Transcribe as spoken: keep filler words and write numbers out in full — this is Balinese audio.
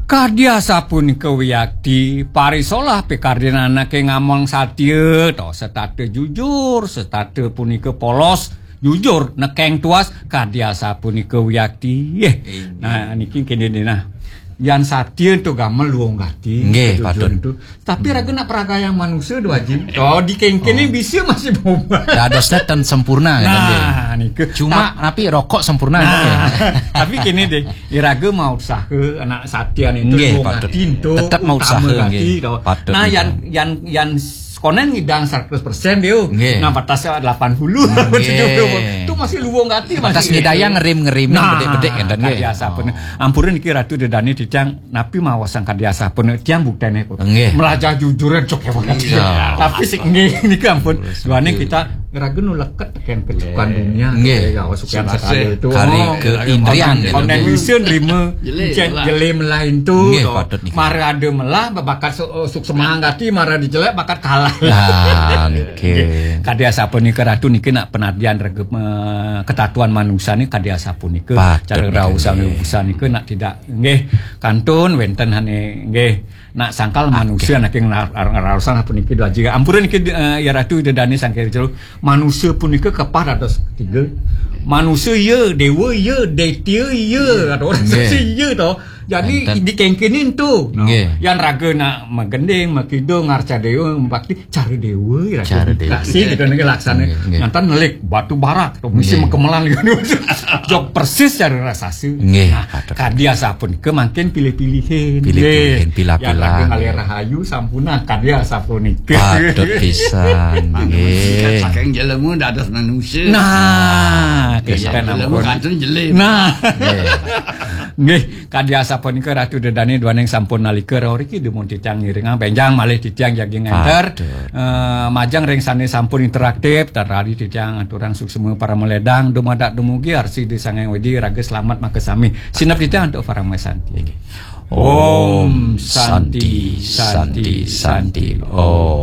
Kadi asapunika wiakti, parisolah pikardin anaké ngamong satia, to, setata jujur, setata punika polos, jujur, nekeng tuas, kadi asapunika wiakti. Nah, niki kéné deh, nah. Yan satia to gamel luung gati, nggih, kejujuran patut. Tapi raga nak peragayang manusia, Dwaji. Oh, di kéngkéné bisa masih berubah. Dadosnya ten sempurna, kan, nggih. Nah, nika. Cuma napi rokok sempurna, nah, nggih. Tapi kéné deh, iraga mau usaha anak satia nih, nggih, luung patut. Gati ento tetap mau utama usaha, gati, nggih. To. Patut, nah, nggih. Yan, yan, yan konen ngidang seratus persen dia. Nggih. Nah, batasnya delapan puluh, nggih. Tujuh puluh. Itu masih luung gati, batas masih ngidayang ngerim-ngerim, nah, bedik-bedik, kan, nggih. Kadi asapunika. Ampura niki Ratu Ida Dané, titiang napi maosang kadi asapunika, tiang buktene kok. Nggih. Melajah jujur cok ya, Pak. Iya. Tapi sik nggih niki ampun. Duane kita ngeraga nu leket tekén kecukupan dunia. Nggih. Ya, sukian sekali itu. Kari keindrian, gitu. Konten bisa nerima jelé, jelé melah itu. Nggih, to. Patut niki. Mara ada melah, bakat su-, suk semangat hati, mara dijelek, bakat kalah. Nah, niki. Kadi asapunika Ratu niki nak penadian rega, eh, ketatuan manusia ni kadi asapunika. Patut cara niki, rausan nggih. Urusan nika nak tidak nggih, kantun wénten hané nggih. Nak sangkal manusia nak ing lar-, lar-, ngaraosan puniki Dwaji. Ampura niki, eh, ya Ratu Ida Dané sangkal jero. Manusia punika kepah dados tiga. Manusia iya, dewa iya, detya iya, ada orang saksi iya to. Jadi di kéngkéné to. Nggih. Yan raga nak magending, makidung, ngarca dewa, bakti cara dewa, cara dewa. Taksi kita niki laksana. Nggih, nggih. Ngantan nelik batu barak, to mesti nggih. Makemelan gitu. Jog persis cara raksasa. Nggih, nah, patut. Kadi asapunika mangkin pilih-pilihin. Pilih-pilihin, nggih. Pilah-pilah. Yang lagi ngalih rahayu, sampuna, kadi asapunika. Patut pisan, nggih. Saking jelema dados manusia. Nah, nggih, kita jelema ampun. Kantun jelema. Nah. Nggih. Nggih. Kadi asapunika Ratu Ida Dané duaning sampun nalika rauh riki dumun titiang ngiringang bénjang malih titiang jagi ngénter. Aduh. Eh, majeng ring sané sampun interaktif, tan radi titiang aturang suksma paramaledang, dumadak dumugi arsi di Sang Hyang Widi raga slamet makasami. Sineb titiang antuk paramasanti. Inggih. Om Santi, Santi, Santi. Om.